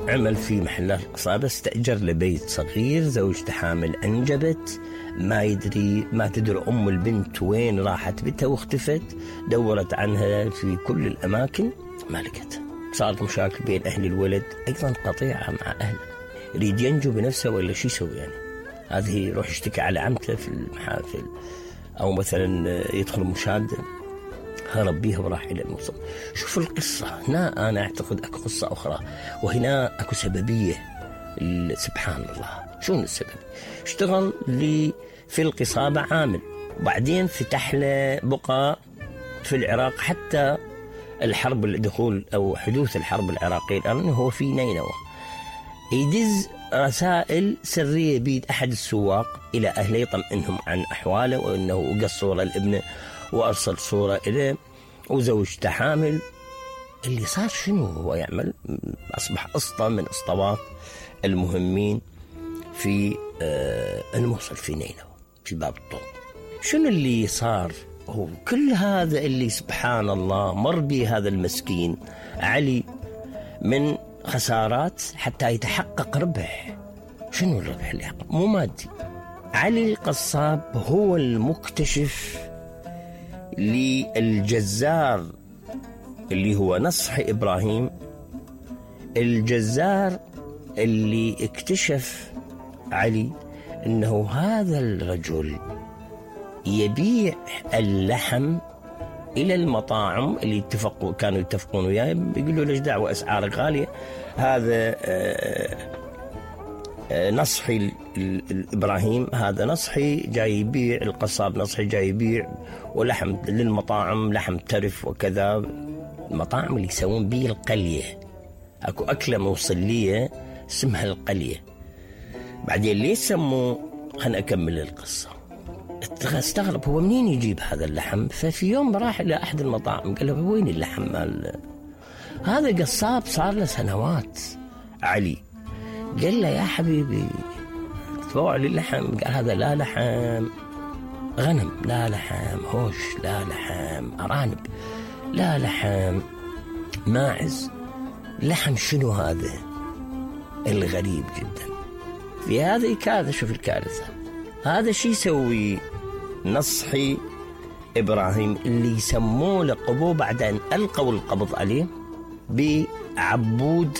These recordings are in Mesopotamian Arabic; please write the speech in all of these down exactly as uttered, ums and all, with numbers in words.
عمل في محلات القصابة، استأجر لبيت صغير، زوجته حامل أنجبت، ما يدري ما تدري أم البنت وين راحت بنتها واختفت، دورت عنها في كل الأماكن ما لقتها. صارت مشاكل بين أهل الولد، أيضا قطيعة مع أهله، يريد ينجو بنفسه ولا شو يسوي يعني؟ هذه يروح يشتكي على عمته في المحافل، أو مثلا يدخل مشاهدة، هرب بيها وراح إلى الموصل. شوف القصة هنا، أنا أعتقد أكو قصة أخرى، وهنا أكو سببية. سبحان الله، شو السبب؟ اشتغل لي في القصابة عامل، وبعدين فتح له بقى في العراق حتى الحرب الدخول أو حدوث الحرب العراقية الآن هو في نينوى، يدز رسائل سرية بيد أحد السواق إلى أهله يطمئنهم عن أحواله، وأنه قص صورة لابنه وأرسل صورة إليه وزوجته حامل. اللي صار شنو هو يعمل؟ أصبح أسطى من أسطوات المهمين في الموصل في نينوى في باب الطوب. شنو اللي صار؟ هو كل هذا اللي سبحان الله مر به هذا المسكين علي من خسارات حتى يتحقق ربح. شنو الربح اللي حقق؟ مو مادي. علي القصاب هو المكتشف للجزار اللي هو نصحي إبراهيم، الجزار اللي اكتشف علي أنه هذا الرجل يبيع اللحم إلى المطاعم اللي اتفقوا كانوا يتفقون وياه، بيقولوا ليش دعوة أسعار غالية. هذا نصحي الإبراهيم، هذا نصحي جاي يبيع، القصاب نصحي جاي يبيع ولحم للمطاعم، لحم ترف وكذا، المطاعم اللي يسوون بيه القلية. أكو أكلة موصلية اسمها القلية. بعدين ليش سموه؟ خلنا أكمل القصة. استغرب هو منين يجيب هذا اللحم. ففي يوم راح إلى أحد المطاعم قال له وين اللحم مال هذا؟ قصاب صار له سنوات علي. قال له يا حبيبي تبوع لي اللحم. قال هذا لا لحم غنم، لا لحم هوش، لا لحم أرانب، لا لحم ماعز، لحم شنو هذا؟ الغريب جدا في هذه كارثة. شوف الكارثة، هذا شي يسوي نصحي إبراهيم اللي يسموه لقبوه بعد أن ألقوا القبض عليه بعبود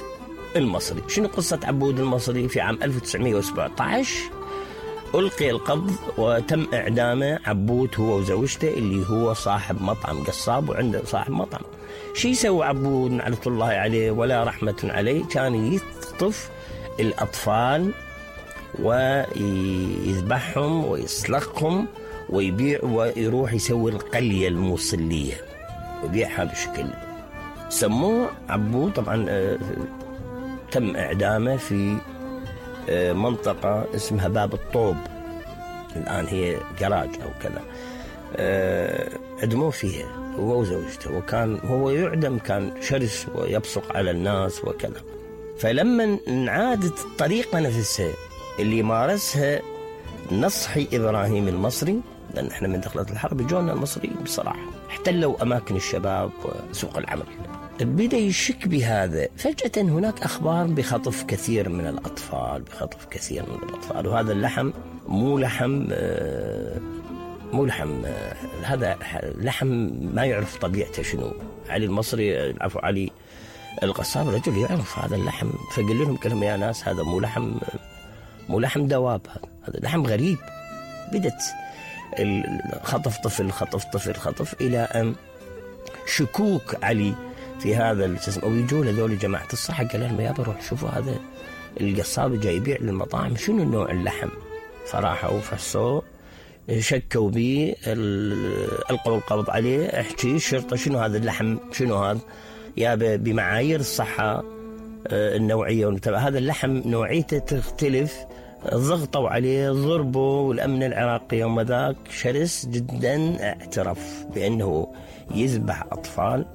المصري. شنو قصة عبود المصري؟ في عام ألف وتسعمائة وسبعة عشر ألقي القبض وتم إعدامه عبود هو وزوجته اللي هو صاحب مطعم قصاب وعنده صاحب مطعم. شي يسوي عبود نعمة الله عليه ولا رحمة عليه؟ كان يخطف الأطفال ويذبحهم ويسلخهم ويبيع، ويروح يسوي القلية الموصلية ويبيعها بشكل. سموه عبود. طبعا آه تم إعدامه في آه منطقة اسمها باب الطوب، الآن هي جراج أو كذا. آه عدموه فيها هو وزوجته، وكان هو يعدم كان شرس ويبصق على الناس وكذا. فلما انعادت الطريقة نفسها اللي مارسها نصحي إبراهيم المصري، لأن احنا من دخلت الحرب جونا المصريين بصراحة احتلوا أماكن الشباب وسوق العمل، بدأ يشك بهذا. فجأة هناك أخبار بخطف كثير من الأطفال، بخطف كثير من الأطفال، وهذا اللحم مو لحم مو لحم هذا لحم ما يعرف طبيعته شنو. علي المصري عفوا علي القصاب رجل يعرف هذا اللحم، فقال لهم كلمة يا ناس هذا مو لحم مو لحم دواب، هذا لحم غريب. بدت خطف طفل خطف طفل خطف إلى أن شكوك علي في هذا الجسم، أو يجوا لذول جماعة الصحة قال لهم يا بروح شوفوا هذا القصاب جاي يبيع للمطاعم شنو نوع اللحم. فراحوا فحصوا شكوا به، ألقوا القبض عليه. احكي الشرطة شنو هذا اللحم شنو هذا؟ يا بمعايير الصحة النوعية هذا اللحم نوعيته تختلف. ضغطوا عليه ضربوا، والأمن العراقي يوم ذاك شرس جدا اعترف بأنه يذبح أطفال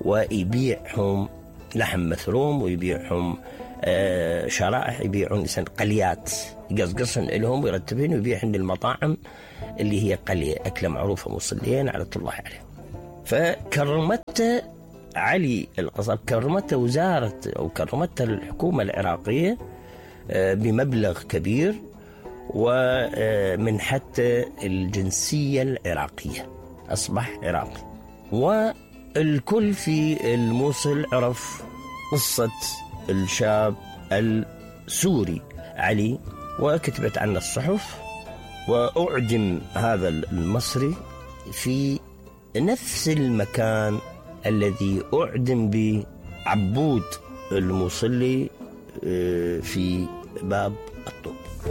ويبيعهم لحم مثروم ويبيعهم آه شرائح، يبيعون قليات يقصقصن لهم ويرتبين ويبيعهن للمطاعم اللي هي قلية أكلة معروفة مصليين على الله عليه. فكرمته علي القصب كرمته وزارة أو كرمته الحكومة العراقية بمبلغ كبير ومن حتى الجنسية العراقية، أصبح عراقي. والكل في الموصل عرف قصة الشاب السوري علي، وكتبت عنه الصحف، وأعدم هذا المصري في نفس المكان الذي أعدم به عبود الموصلي في باب الطوق.